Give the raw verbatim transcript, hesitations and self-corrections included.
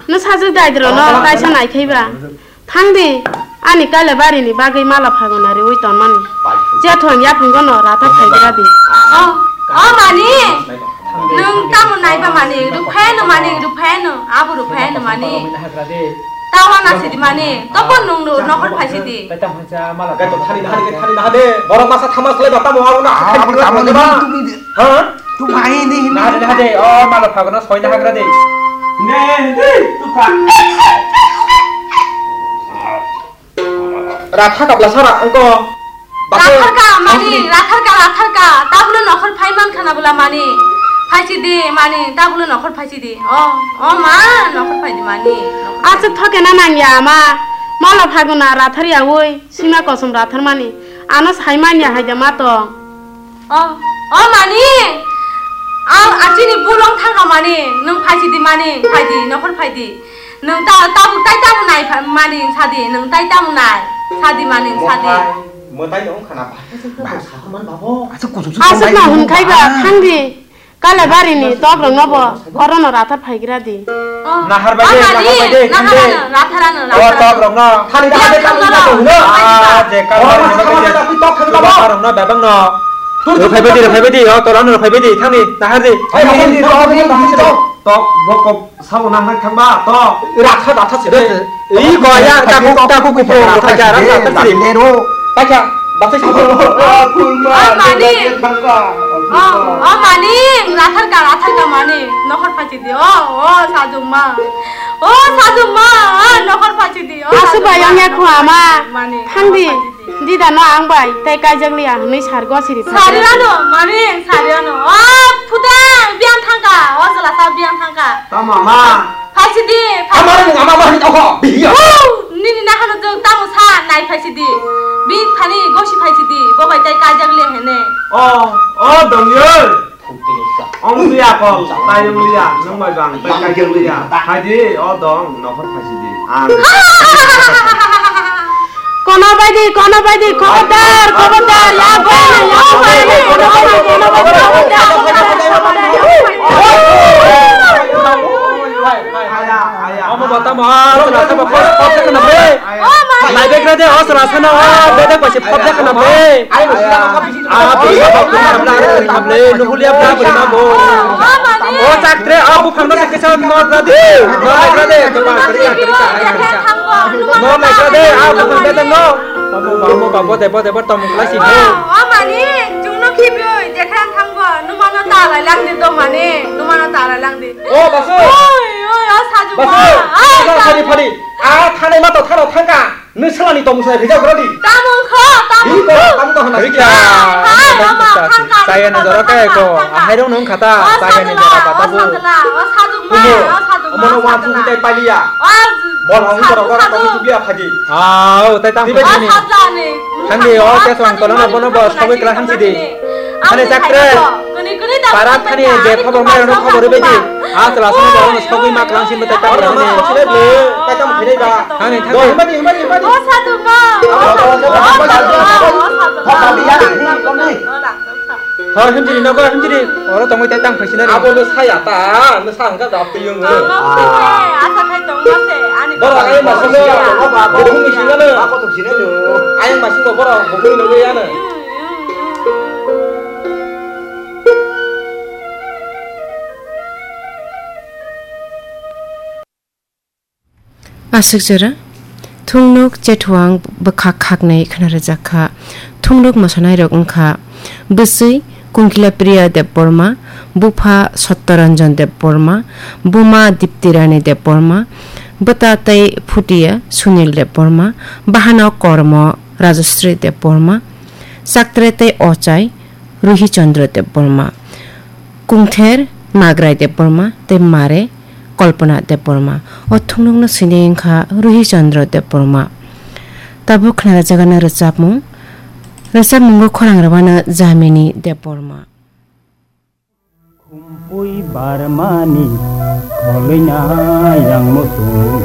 Nw sajwk dai dro no, taisa nai thai ba. Thang di, ani Kailaibari ni bagwi mala phagona riwi tonmani. Jethon yaphang gono Rathar phaigra di. O, o mani, nwng tamo naiba mani, rwphai no mani, rwphai no, abo rwphai no mani. Tawa na sidi mani, tobo nwng no nokhor phai sidi. Gai to thani na hade, thani na hade. Borok masa thama slai ba tamo abo na. Ah, abo tamo ni ba. Ha? Tu mai ni hin. Na hade, na hade. O, mala phagona soi na hagra de. Ne, ne, tu kha. Ratha kapla sara angko. Bako. Ratharka, mani, ratharka, ratharka. Tabule nokhor phai man khana bula mani. Phaisi di, mani, tabule nokhor phaisi di. O, o ma, nokhor phai di mani. Acha thoke na nang ya ma. Mala phaguna rathar ya woi, sima kosom rathar mani. Ano sai man ya hai da ma tong. O, o mani. Ang achini bulong thangka mani. Nung phaisi di mani, phai di, nokhor phai di. Nwng ta, tabuk tai tamo nai pha-, mani sadi, nwng tai tamo nai sadi mani sadi. Mwtai, mwtai no wngkha na ba. Ba, sa man babo. Aswk kuchuk suk. Aswk tongnai no hwnkhai ba, ba. Thang di. Kailaibari ni tok rok no bo, oro no rathar phaigra di. Oh. Nahar bai de, oh, nahar bai de, nahar thang de. Ano, rathar ano, o rathar tok ano. Rok no. Thani da de, thani da de. Ah, je Kailaibari ni tok thang ba. Rok no bebang no. Rok phai bai di, rok phai bai di, o tok rok no rok phai bai di, thang di, nahar di. Ai, hai, hai, hai, hai, hai. Tok, bokok. Sabo nang hai thangba to. Rakha datha se. Ei, goya, taku, taku, kupo, rakha ja, rakha ta siri. Nero. Pakha, baksa sabo. Ah, mani. Oh, oh, mani. Rathar ka, rathar ka mani. Nokhor phachi di. Oh, oh, sajung ma. Oh, sajung ma. Ah, nokhor phachi di. Oh, asu sajung bayang ma. Ya khu ama. Mani. Thang di. Nokhor phachi di. Dida no ang bai tei kaijak liya hwnwi sar gosiri phaikhe. Sari ano, mani, sari ano. O, phuta, biyang thangka. O, jwlasa biyang thangka. Tamo ma? Phaisidi, phaisidi. Amar ni ama ma hwnwi tongkho, biya. O, nini nahano jwng tamo sa, nai phaisidi. Bi thani gosi phaisidi. Bo bai tei kaijak liya hene. O, o, dongyo. Ong liya kol, tai ong liya, nung bai bang, tai kai ong liya. Hai di, o dong, nokhor phaisi di. Ang. Kono bai di, kono bai di, khobordar, khobordar, ya bai, ya bai, kono bai di, kono bai di, khobordar, khobordar, khobordar. Aya, aya. Omo bata mo, sala sama pos, pos kana be. O mani. Nai bekra de, o sala sana, o bedek pasi pos kana be. Aya, aya. Ah, bini baba kuma bla ro na ble, nuhulia bla bla na bo. O mani. O chaktre, ah, buphang no kisa no bla de. No bla de, no bla de. No bla de, ah, buphang de no. Babo, babo, babo, debo, debo, tom klasi bo. O mani, chungno khibi oi, jekhan thangbo, numano ta lai lang de do mani, numano ta lai lang de. O basu. Oi, oi, o sajuma. Basu. Ai, phadi, phadi. Ah, thane ma to thano thangka. Nung salani tong musai phejak rodi. Tamung kho, tamung kho. Tamung to hana. Rikha. Hai, hai, mama, thangka. Saya ni jora kai ko. Ahai rong nung khata. Saya ni jora kata bu. O sajuma, o sajuma. Omo no wan tu tai paliya. Bol hong jora kora tong tu biya phadi. Ah, o tai tang phadi. Thangdi o ke song tolo no bono bos khoboi kla hamsi di. Thani chakre. Para thani je khobor mai no khobor bedi. A tla song bono khoboi ma klang sin tai tang phadi. Thani thani. Himadi himadi himadi. O sadu ma. O sadu ma. Hoi himjiri no go himjiri. Oro tongoi tai tang phai sinari. Abo no saya ta, no sa hangka da piyung. Tongok se, asa khai tongok se, ani. Bora ai ma solo. Bora ai ma solo. Bora ai ma solo. Ai ma solo bora bukui no ya na. Aswk jora, thungnuk chethuang bwkhak khaknwi khna rwjak kha. Thungnuk mwsanairok wng kha bwswi Kungkila Priya Debbarma, bupha Satyaranjan Debbarma, buma Diptirani Debbarma, bwta tei phutia Sunil Debbarma, bahanok kormo Rajasri Debbarma, chaktre tei ochai Ruhi Chandra Debbarma, kungther Magrai Debbarma tei mare Kalpana Debbarma. O thungnukno sini wngkha Ruhi Chandra Debbarma. Tabuk khna rwjagano rwchapmung. Rwchapmungo khorang rwmano Jamini Debbarma. Khumpui barmani kholoina yang muchung.